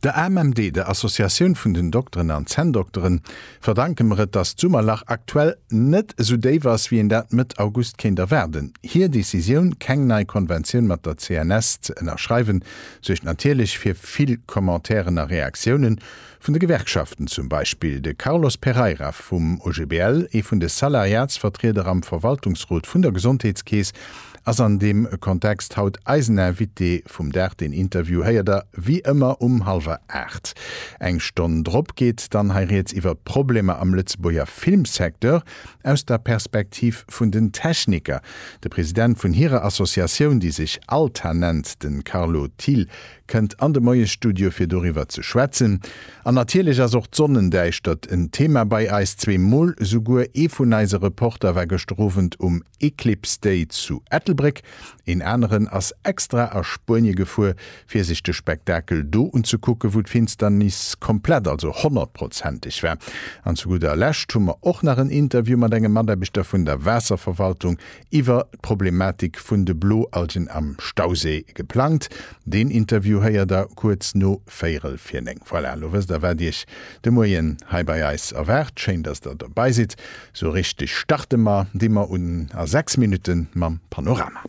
Der AMMD, der Associatioun vun den Dokteren an Zänndokteren, verdanke mer et, datt d'Summerlach aktuell net esou déif ass, wéi een dat Mëtt August kéint erwaarden. Hir Decisioun, keng nei Konventioun mat der CNS ze ënnerschreiwen, suergt natierlech fir vill Commentairen a Reaktiounen, vun de Gewerkschaften zum Beispill. De Carlos Pereira vum OGBL, ee vun de Salariatsvertrieder am Verwaltungsrot vun der Gesondheetskeess, Ass an deem Kontext haut eisen Invité vum Dag. Den Interview héiert der wéi ëmmer um hallwer 8. Eng Stonn drop geet dann hei rieds iwwer d'Problemer am Lëtzebuerger Filmsecteur aus der Perspektiv vun den Techniker. De President vun hirer Associatioun, déi sech ALTA nennt, de Carlo Thiel, kënnt an de Moiesstudio fir doriwwer ze schwätzen. An natierlech ass och d'Sonnendäischtert en Thema bei eis, zweemol souguer. Ee vun eise Reporter war gëschter Owend um Eclipse Day zu Ettelbréck, een aneren ass extra a Spuenie gefuer, fir sech de Spektakel do unzekucken, wou d'Finsternis komplett, also honnertprozenteg war. An zu gudder Lescht hu mer och nach en Interview mat engem Mataarbechter vun der Waasserverwaltung iwwer d'Problematik vun de Bloalgen am Stauséi geplangt. Deen Interview héiert der kuerz no véierel vir 9. Voilà, elo wësst der wat iech de Moien hei bei eis erwaart. Schéin, dass der dobei sidd. Sou richteg starte mer, di mer un a 6 Minutten mam Panorama.